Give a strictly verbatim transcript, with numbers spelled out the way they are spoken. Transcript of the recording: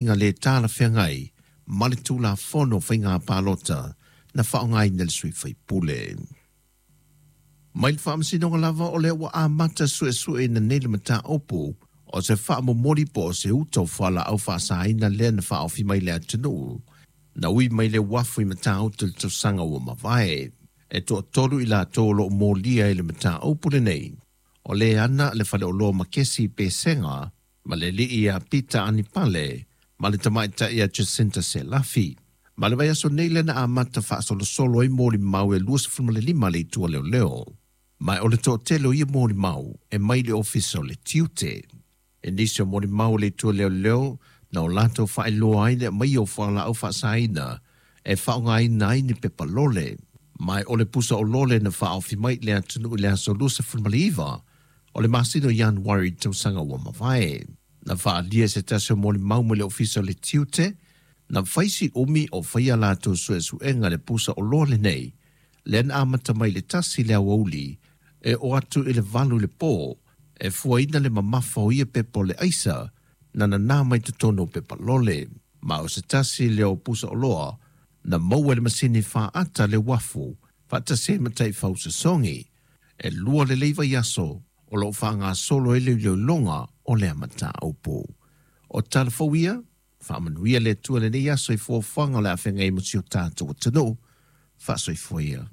Le talafeagai ma le Tulafono o Faiga Palota na faaaogaina le sui faipule. Mai le Faamasinoga lava o lea ua amata suesueina nei le mataupu o se faamomoli po o se uta o fualaau faasaina lea na faaofi mai le atunuu na ui mai le uafu i Matautu i le tausaga ua mavae. E toatolu i latou o loo molia i le mataupu lenei, o le ana le faleoloa Makesi Pesega ma le alii ia Pita Anipale ma le tamaitai ia Jacinta Selafi. Ma le vaiaso nei lea na amata faasolosolo ai molimau e luasefulumalima le itu a leoleo. Ma o le toatele o ia molimau e mai le ofisa o le tiute. E nisi o molimau o le itu a leoleo na o latou faailoa ai le aumaia o fualaau faasaina e faaaogaina ai ni pepa lole. Ma o le pusa o lole na faaofi mai le atunuu i le aso luasefulumaliiva o le masina o Ianuari tausaga ua mavae. Na faaalia se tasi o molimau mai le ofisa o le tiute, na faisi umi o faia latou suesuega le pusa oloa lenei, lea na amata mai le tasi le aoauli e oo atu i le valu i le po, e fuaina le mamafa o ia pepa o le aisa na nanā mai totonu o pepa lole. Ma o se tasi lea o pusa oloa na maua e le masini faata le uafu faatasi ai ma taifau sosogi. E lua lelei vaiaso o loo faagasolo ai le iloiloga o lea mataupu. O tala fou ia, faamanuia le Atua lenei aso i fuafuaga o le a feagai ma si o tatou atunuu. Faasoifua ia.